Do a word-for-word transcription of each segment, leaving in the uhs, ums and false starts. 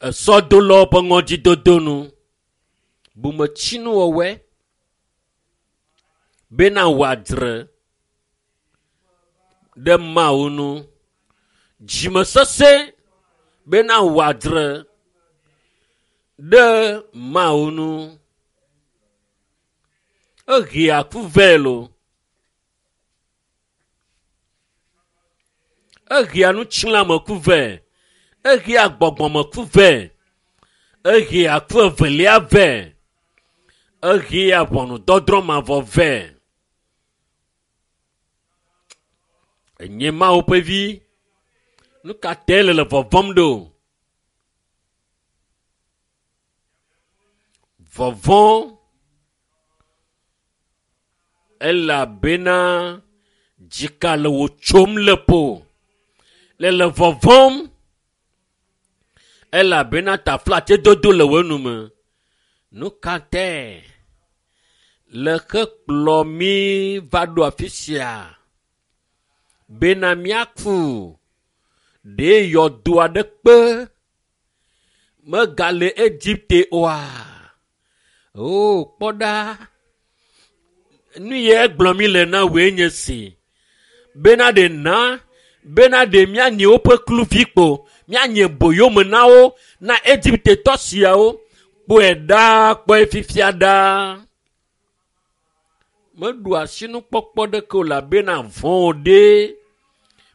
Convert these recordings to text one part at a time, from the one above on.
Esɔdolawo ƒe ŋɔdzidodo nu. Bometsinuwɔwɔe bena wòadzre ɖe Mawu nu. Dzimesesẽ bena wòadzre ɖe Mawu nu. Ehea ku vɛ loo. Ehea nutsilãmeku vɛ. Ehea gbɔgbɔmeku vɛ. Ehea ku evelia vɛ. Ehea ʋɔnudɔdrɔ̃ mavɔ vɛ. Enye Mawu ƒe vi. Nu ka tae le le vɔvɔ̃m ɖo? Vɔvɔ̃ elabena dzika le wò tsom le ƒo. Le le vɔvɔ̃m elabena taflatsedodo le wò nume. Nu ka tae le xe kplɔ mí va ɖo afi sia bena míaku ɖe yɔdo aɖe kpe megale Egipte oa? O, kpɔ ɖa. Nu ye gblɔ mi le na wòe nye si bena ɖe na bena ɖe míanye woƒe kluvi kpo míanye boyome na wo na Egiptetɔ siawo kpɔe ɖaa kpɔe fifia ɖaa. Meɖu asinukpɔkpɔ ɖeke o elabena vɔ̃ wò ɖe.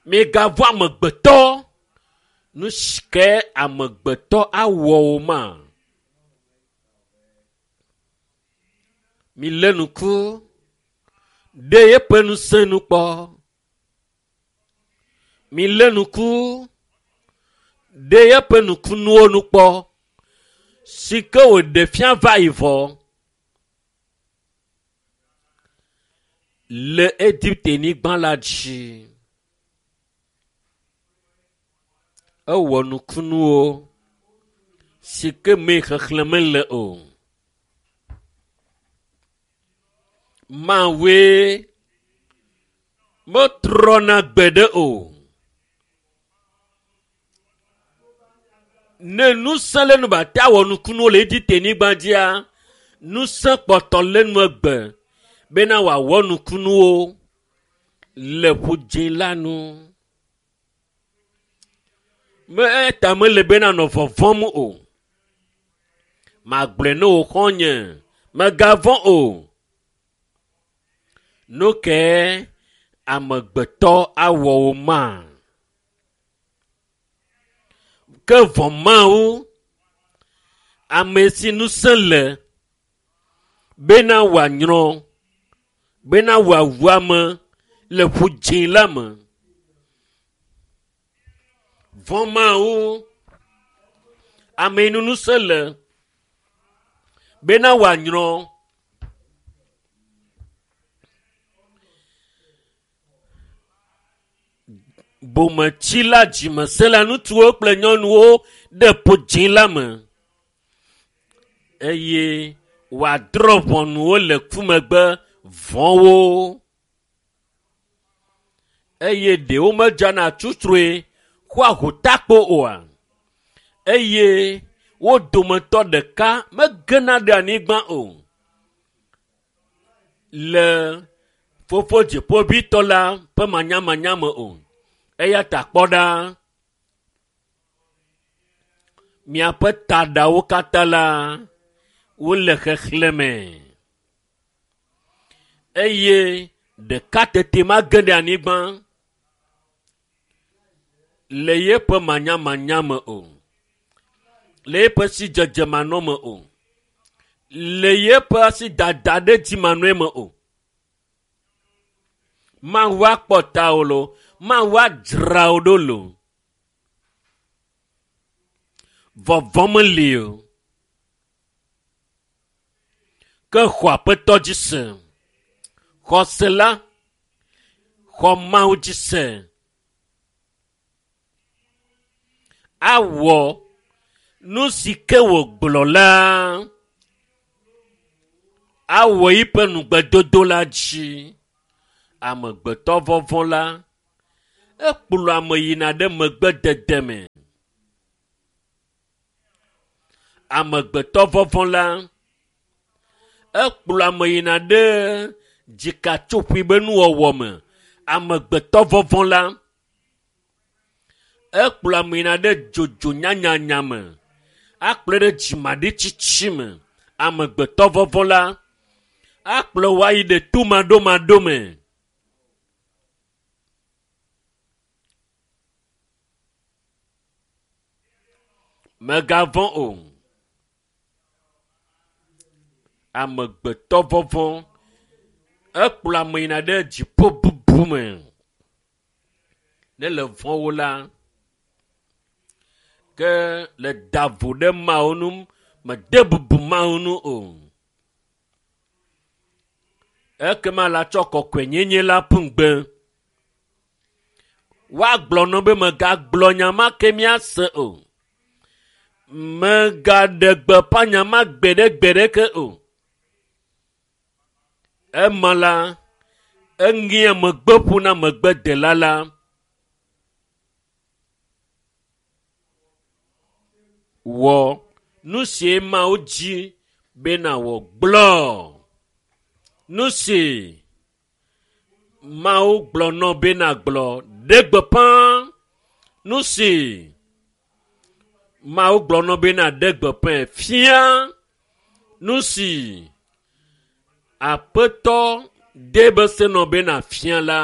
Migavɔ̃ amegbetɔ. Nu si ke amegbetɔ awɔ wò ma. Milé ŋku ɖe eƒe ŋusẽ nu kpɔ. Milé ŋku ɖe eƒe nukunuwo nu kpɔ si ke wòɖe fia va yi vɔ le Egipte-nyigba la dzi. Ewɔ nukunuwo si ke me xexlẽ mele o. Mawue metrɔna gbeɖe o. Ne ŋusẽ le nu be ate awɔ nukunuwo le Egipte-nyigba dzia, ŋusẽ kpɔtɔ le nu egbe bena wòawɔ nukunuwo le ƒudzĩ la nu. Me eya mele bena nɔ vɔvɔ̃m o. Magblɔe ne wò xɔ̃nye, mègavɔ̃ o. Nu kae amegbetɔ awɔ wò ma? Ke vɔ̃ Mawu, ame si ŋusẽ le bena wòanyrɔ, bena wòawu ame le ƒudzĩ la me. Vɔ̃ Mawu, ame yi nu ŋusẽ le bena wòanyrɔ. Bometsila dzimesẽla ŋutsuwo kple nyɔnuwo ɖe ƒudzĩ la me eye wòadrɔ̃ ʋɔnu wo le ku megbe vɔ̃wo eye ɖewo medzana tsutsrɔe xɔa hotakpo oa? Eye wo dometɔ ɖeka megena ɖe anyigba o le fofo dziƒoʋĩtɔ la ƒe manyamanya me o. Eya ta kpɔ ɖa, miaƒe taɖawo katã la, wole xexlẽme eye ɖeka tete mage ɖe anyigba le yeƒe manyamanya me o, le yeƒe sidzedze manɔme o, le yeƒe asidada ɖe dzi manɔe me o. Mawu akpɔ tawò loo, Mawu adzra wò ɖo loo. Vɔvɔ̃ meli o. Ke xɔ Aƒetɔ dzi se. Xɔse la, xɔ Mawu dzi se. Awɔ nu si ke wògblɔ la. Awɔ eƒe nugbedodo la dzi. Amegbetɔ vɔvɔ̃ la, Ekplɔ ame yina ɖe megbedede me. Amegbetɔ vɔvɔ̃ la, ekplɔ ame yina ɖe dzikatsoƒoe be nuwɔwɔ me. Amegbetɔ vɔvɔ̃ la, ekplɔ ame yina ɖe dzodzo nyanyanya me. Akplɔe ɖe dzimaɖitsitsi me. Amegbetɔ vɔvɔ̃ la, akplɔ wò ayi ɖe tomaɖomaɖo me. Mègavɔ̃ o. Amegbetɔ vɔvɔ̃ ekplɔ ame yina ɖe dziƒo bubu me. Ne le vɔ̃wo la, ke le da vo ɖe Mawu ŋu, mede bubu Mawu ŋu o. Ekema la tsɔ kɔkɔenyenye la ƒu ŋugbe. Woagblɔ nɔ be mègagblɔ nya ma ke míase o. Mègaɖe gbeƒã nya ma gbeɖegbeɖeke o. Ema la, eŋea megbe ƒo na megbedela la. Wɔ nu si Mawu dzi be nàwɔ gblɔ. Nu si Mawu gblɔ nɔ be nàgblɔ ɖe gbeƒã. Nu si Mawu gblɔ nɔ be nàɖe gbeƒãe fia. Nu si Aƒetɔ de be se nɔ be nàfia la.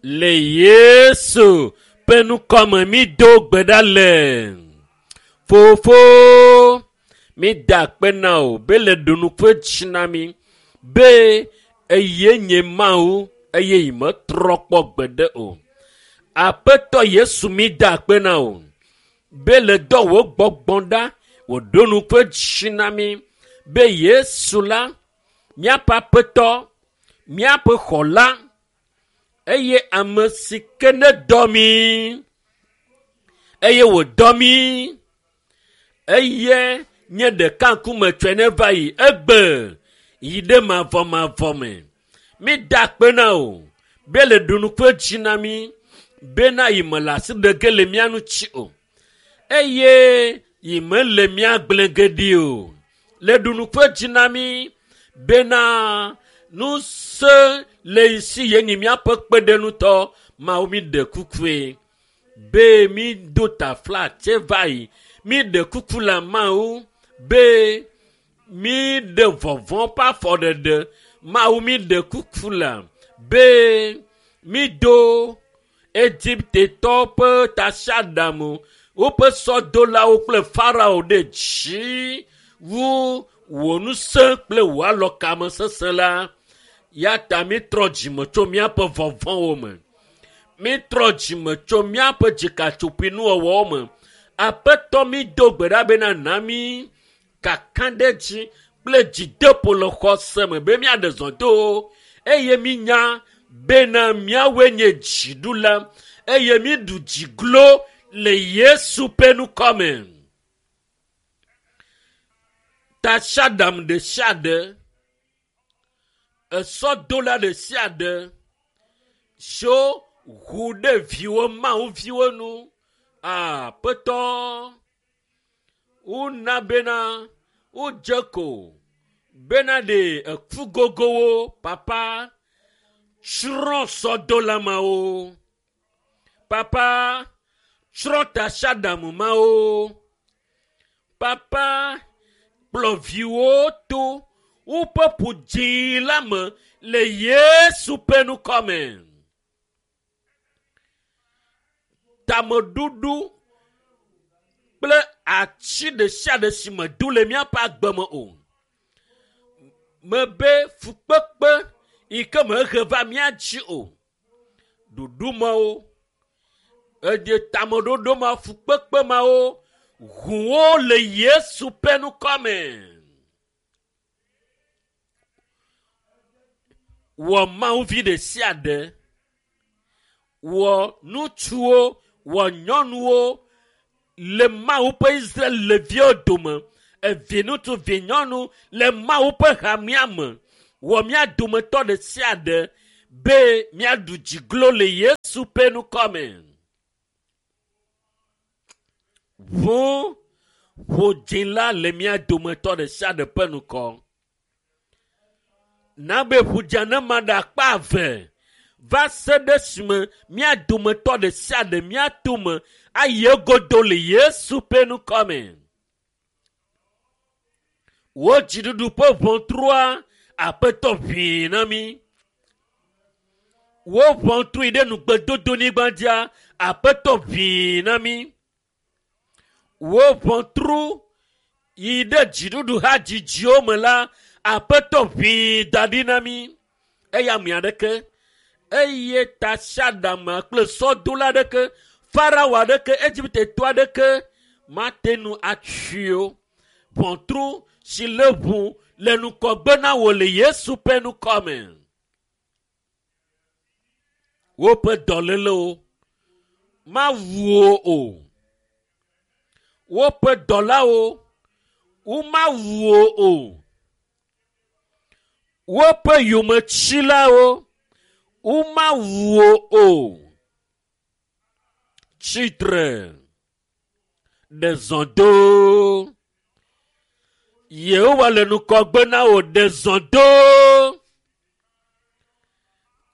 Le Yesu ƒe ŋkɔme mído gbe ɖa le. Fofo, mída akpe na wò be le ɖo nuƒe dzi na mí be eye nye Mawu eye yi metrɔ kpɔ gbeɖe o. Aƒetɔ Yesu mída akpe na wò be le dɔ wò gbɔgbɔ ɖa wòɖo nuƒe dzi na mí be Yesu la, míaƒe Aƒetɔ, míaƒe xɔla, eye ame si ke ne dɔ mí eye wòdɔ mí eye nye ɖeka ŋkume tsɔe ne va yi egbe yi ɖe mavɔmavɔ me. Mída akpe na wò be le ɖo nuƒe dzi na mí bena yi mele asi ɖe ge le mía ŋuti o eye yi mele mía gblẽ ge ɖi o. Le ɖo nuƒe dzi na mí bena ŋusẽ le yi si yenyi míaƒe kpeɖeŋutɔ. Mawu míɖe kukue be mído taflatse va yi. Míɖe kuku le Mawu be míɖe vɔvɔ̃ ƒe afɔɖeɖe. Mawu míɖe kuku le be mído Egiptetɔwo ƒe tasiaɖam, woƒe sɔdolawo kple Farao ɖe dzi wu wò ŋusẽ kple wò alɔkame sesẽ la. Ya ta mítrɔ dzime tso míaƒe vɔvɔ̃wo me. Mítrɔ dzime tso míaƒe dzikatsoƒoe nuwɔwɔwo me. Aƒetɔ mído gbe ɖa bena na mí kakaɖedzi kple dzideƒo le xɔse me be míaɖe zɔ do eye mínya bena míawoe nye dziɖula eye míɖu dziglo le Yesu ƒe ŋkɔ me. Tasiaɖam ɖe sia ɖe, esɔdola ɖe sia ɖe siwo ʋu ɖe viwo Mawu viwo nu. Aƒetɔ, wona bena wodze ko bena ɖe eku gogowo papa tsrɔ̃ sɔdola mawo. Papa tsrɔ̃ tasiaɖam mawo. Papa kplɔ viwo to woƒe ƒu dzĩ la me le Yesu ƒe ŋkɔ me. Tameɖuɖu kple atsi ɖe sia ɖe si medo le míaƒe agbe me o. Mebe fukpekpe yi ke mehe va mía dzi o. Ɖoɖo mawo, eɖe tameɖoɖo ma, fukpekpe mawo, ʋuwo le Yesu ƒe ŋkɔ me. Wɔ Mawu vi ɖe sia ɖe, wɔ ŋutsuwo, wɔ nyɔnuwo le Mawu ƒe Israel viwo dome, evi ŋutsu, vi nyɔnu le Mawu ƒe hamea me. Wɔ mía dometɔ ɖe sia ɖe be míaɖu dziglo le Yesu ƒe ŋkɔme. Ʋu ƒo la le mía dometɔ ɖe sia ɖe ƒe ŋkɔ. Na be ƒudza ne ma ɖe akpa eve va se ɖe esime mía dometɔ ɖe sia ɖe mía tome ayi egodo le Yesu ƒe ŋkɔme. Wò dziɖuɖu ƒe ʋɔtrua Aƒetɔ ʋĩi na mí. Wò ʋɔtru yi ɖe nugbedodonyigba dzia Aƒetɔ ʋĩi na mí. Wò ʋɔtru yi ɖe dziɖuɖu hadzidziwo me la Aƒetɔ ʋĩi da ɖi na mí. Eya ame aɖeke eye tasiaɖam kple sɔdola aɖeke, Farao aɖeke, Egiptetɔ aɖeke mate ŋu atui o. Ʋɔtru si le ʋu le ŋgɔgbe na wò le Yesu ƒe ŋkɔme. Woƒe dɔlélewo mawu wo o. Woƒe dɔlawo womawu wo o. Woƒe yometsilawo womawu wo o. Tsitre ɖe zɔ do. Yehowa le ŋgɔgbe na wò ɖe zɔ do.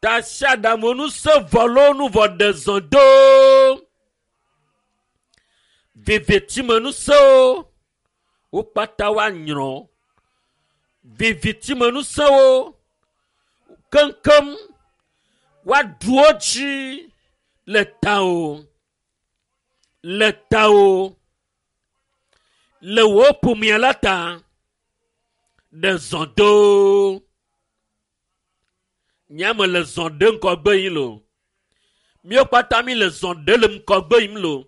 Tasiaɖam ŋusẽ vɔ loo nu vɔ ɖe zɔ do. Vivitime ŋusẽwo wo kpata woanyrɔ. Vivitime ŋusẽwo keŋkeŋ woaɖu wo dzi le tawò, le tawò, le wò ƒomea la ta. Ɖe zɔ do. Nye ame le zɔ ɖe ŋgɔgbe yim loo. Míawo kpata mí le zɔ ɖe le ŋgɔgbe yim loo.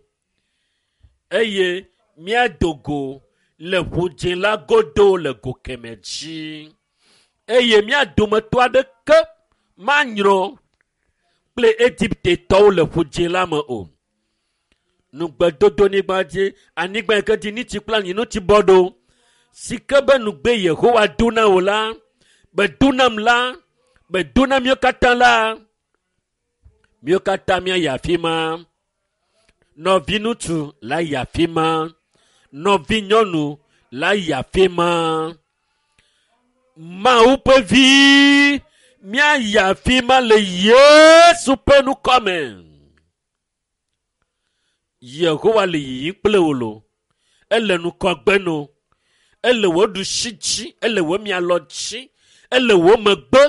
Eye míado go le ʋudzĩ la godo le go kemɛ dzi. Eye mía dometɔ aɖeke manyrɔ kple Egiptetɔwo le ƒudzĩ la me o. Nugbedodonyigba dzi, anyigba yi ke dzi nitsi kple anyinotsi bɔ ɖo, si ke be nugbe Yehowa do na wò la, be do nam la, be do na míawo katã la, míawo katã míayi afi ma. Nɔviŋutsu la yi afi ma. Nɔvinyɔnu la yi afi ma. Mawu ƒe vi míayi afi ma le Yesu ƒe ŋkɔme. Yehowa le yiyim kple wò loo. Ele ŋgɔgbe no. Ele wò ɖusi dzi, ele wò mialɔ dzi, ele wò megbe,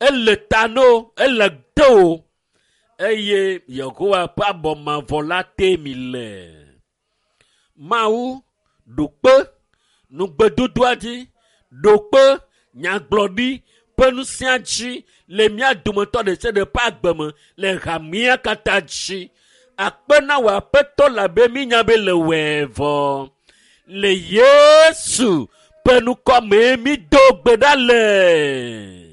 ele ta no, ele de wò. Eye Yehowa ƒe abɔ mavɔ la tee mi le. Mawu ɖo kpe nugbedodoa dzi, ɖo kpe nyagblɔɖi ƒe ŋusẽa dzi le mía dometɔ ɖe sia ɖe ƒe agbe me le hamea katã dzi. Akpe na wò Aƒetɔ labe mínya be le wɔe vɔ. Le Yesu ƒe ŋkɔme mído gbe ɖa le.